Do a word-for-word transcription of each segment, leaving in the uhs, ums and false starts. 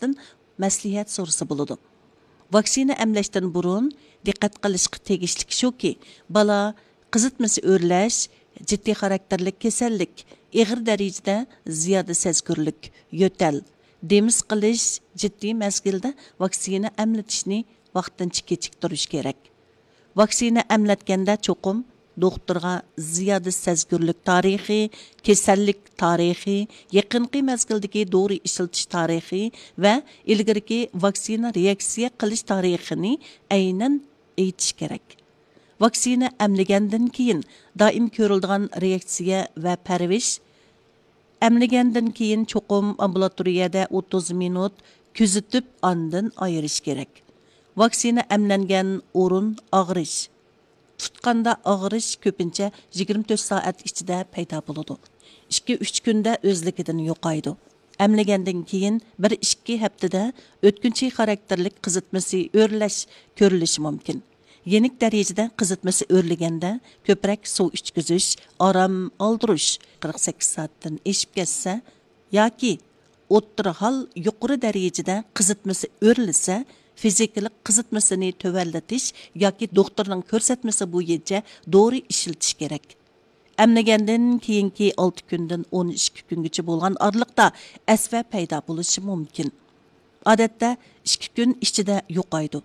مۇتەخەسسىستىن مەسلىھەت سورىسا بولىدۇ. ۋاكسىنا ئەملەشتىن بۇرۇن دىققەت قىلىشقا تېگىشلىك شۇكى، بالا قىزىتمىسى ئۆرلەش، جىددىي خاراكتېرلىك كېسەللىك، ئېغىر دەرىجىدە زىيادە سەزگۈرلۈك، يۆتەل، دېمى سىقىلىش جىددىي مەزگىلدە ۋاكسىنا ئەملىتىشنى ۋاقتىنچە كېچىكتۈرۈش كېرەك. ۋاكسىنا ئەملەتكەندە چوقۇم دوختۇرغا زىيادە سەزگۈرلۈك تارىخى، كېسەللىك تارىخى، يېقىنقى مەزگىلدىكى دورا ئىشلىتىش تارىخى ۋە ئىلگىرىكى ۋاكسىنا رېئاكسىيە قىلىش تارىخىنى ئەينەن ئېيتىش كېرەك. ۋاكسىنا ئەملىگەندىن كېيىن دائىم كۆرۈلىدىغان رېئاكسىيە ۋە پەرۋىش. ئەملىگەندىن كېيىن چوقۇم ئامبۇلاتورىيەدە ئوتتۇز مىنۇت كۆزىتىپ، ئاندىن ئايرىش كېرەك. ۋاكسىنا ئەملەنگەن ئورۇن ئاغرىش. تۇتقاندا ئاغرىش كۆپىنچە يىگىرمە تۆت سائەت ئىچىدە پەيدا بولىدۇ. ئىككى، ئۈچ كۈندە ئۆزلۈكىدىن يوقايدۇ. ئەملىگەندىن كېيىن بىر، ئىككى ھەپتىدە ئۆتكۈنچى خاراكتېرلىك قىزىتمىسى ئۆرلەش كۆرۈلۈشى مۇمكىن. يېنىك دەرىجىدە قىزىتمىسى ئۆرلىگەندە كۆپرەك سۇ ئىچكۈزۈش، ئارام ئالدۇرۇش، قىرىق سەككىز سائەتتىن ئېشىپ كەتسە ياكى ئوتتۇرا ھال يۇقىرى دەرىجىدە قىزىتمىسى ئۆرلىسە، فىزىكىلىق قىزىتمىسىنى تۆۋەنلىتىش ياكى دوختۇرنىڭ كۆرسەتمىسى بويىچە دورا ئىشلىتىش كېرەك. ئەملىگەندىن كېيىنكى ئالتە كۈندىن ئون ئىككى كۈنگىچە بولغان ئارىلىقتا ئەسۋە پەيدا بولۇشى مۇمكىن. ئادەتتە ئىككى كۈن ئىچىدە يوقايدۇ.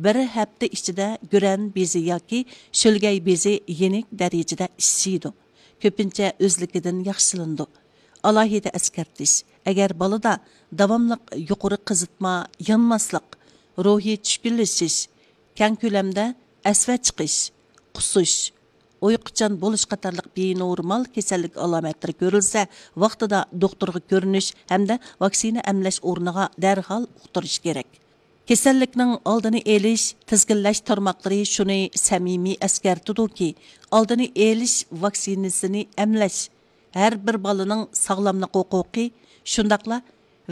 بىر ھەپتە ئىچىدە گۈرەن بېزى ياكى شۆلگەي بېزى يېنىك دەرىجىدە ئىششىيدۇ. كۆپىنچە ئۆزلۈكىدىن ياخشىلىنىدۇ. ئالاھىدە ئەسكەرتىش، ئەگەر بالىدا داۋاملىق يۇقىرى قىزىتما، يانماسلىق، روھىي چۈشكۈنلىشىش، كەڭ كۆلەمدە ئەسۋە چىقىش، قۇسۇش، ئۇيقۇچان بولۇش قاتارلىق بىنورمال كېسەللىك ئالامەتلىرى كۆرۈلسە، ۋاقتىدا دوختۇرغا كۆرۈنۈش ھەمدە ۋاكسىنا ئەملەش ئورنىغا دەرھال ئۇقتۇرۇش كېرەك. كېسەللىكنىڭ ئالدىنى ئېلىش، تىزگىنلەش تارماقلىرى شۇنى سەمىمىي ئەسكەرتىدۇكى، ئالدىنى ئېلىش ۋاكسىنىسىنى ئەملەش ھەر بىر بالىنىڭ ساغلاملىق ھوقۇقى، شۇنداقلا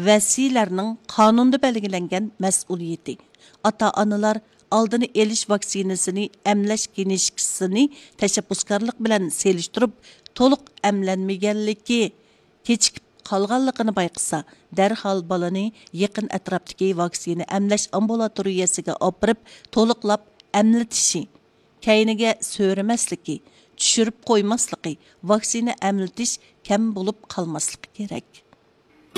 ۋەسىيلەرنىڭ قانۇندا بەلگىلەنگەن مەسئۇلىيىتى. ئاتا-ئانىلار ئالدىنى ئېلىش ۋاكسىنىسىنى ئەملەش كىنىشكىسىنى تەشەببۇسكارلىق بىلەن سېلىشتۇرۇپ، تولۇق ئەملەنمىگەنلىكى، كېچىكىپ قالغانلىقىنى بايقىسا، دەرھال بالىنى يېقىن ئەتراپتىكى ۋاكسىنا ئەملەش ئامبۇلاتورىيەسىگە ئاپىرىپ، تولۇقلاپ ئەملىتىشى، كەينىگە سۆرىمەسلىكى، چۈشۈرۈپ قويماسلىقى، ۋاكسىنا ئەملىتىش كەم بولۇپ قالماسلىقى كېرەك.